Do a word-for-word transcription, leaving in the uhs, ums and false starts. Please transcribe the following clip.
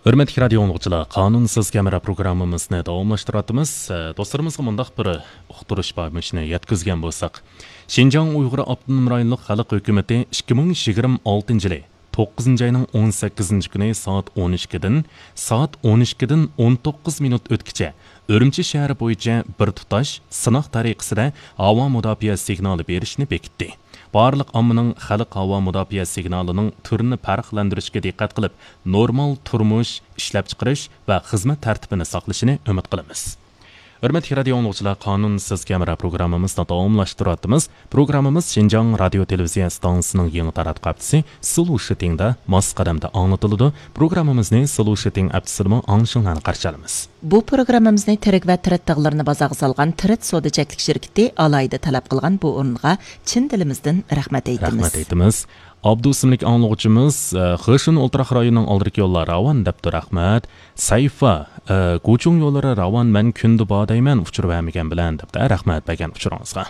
ھۆرمەتلىك رادىيو ئاڭلىغۇچىلار، قانۇنسىز كامېرا پروگراممىمىزنى داۋاملاشتۇرۇۋاتىمىز. ئە، دوستلىرىمىزغا مۇنداق بىر ئۇقتۇرۇش بار، مۇشۇنى يەتكۈزگەن بولساق. شىنجاڭ ئۇيغۇر ئاپتونوم رايونلۇق خەلق ھۆكۈمىتى ئىككى مىڭ يىگىرمە ئالتىنچى يىلى توققۇزىنچى ئاينىڭ ئون سەككىزىنچى كۈنى سائەت ئون ئىككىدىن، سائەت ئون ئىككىدىن ئون توققۇز مىنۇت ئۆتكىچە ئۈرۈمچى شەھىرى بويىچە بىر تۇتاش سىناق تەرىقىسىدە ھاۋا مۇداپىئە سىگنالى بېرىشنى بېكىتتى. بارلىق ئاممىنىڭ خەلق ھاۋا مۇداپىئە سىگنالىنىڭ تۈرىنى پەرقلەندۈرۈشكە دىققەت قىلىپ، نورمال تۇرمۇش، ئىشلەپچىقىرىش ۋە خىزمەت تەرتىپىنى ساقلىشىنى ئۈمىد قىلىمىز. ھۆرمەتلىك رادىيو ئاڭلىغۇچىلار، قانۇنسىز كامېرا پروگراممىمىزنى داۋاملاشتۇرۇۋاتىمىز. پروگراممىمىز شىنجاڭ رادىيو تېلېۋىزىيە ئىستانسىسىنىڭ يېڭى تاراتقۇ ھەپتىسى سلوشىتىڭدا ماس قەدەمدە ئاڭلىتىلىدۇ. پروگراممىمىزنى سلوشىتىڭ ئەپتىسىدىمۇ ئاڭلىشىڭلارنى قارشى ئالىمىز. بۇ پروگراممىمىزنى تىرىك ۋە تىرىت تاغلىرىنى بازارغا سالغان تىرىت سودا چەكلىك شىركىتى ئالاھىدە تەلەپ قىلغان بۇ ئورۇنغا چىن دىلىمىزدىن رەھمەت ئېيتىمىز. رەھمەت ئېيتىمىز. ئابدۇ ئىسىملىك ئاڭلىغۇچىمىز، ئە، خېشۇن ئولتۇراق رايونىنىڭ ئالدىدىكى يوللار راۋان دەپتۇ، رەھمەت. سەيفا، ئە، گۇچۇڭ يوللىرى راۋان، مەن كۈندە بار دەيمەن، ئۇچۇر بەرمىگەن بىلەن دەپتۇ، رەھمەت بەرگەن ئۇچۇرىڭىزغا.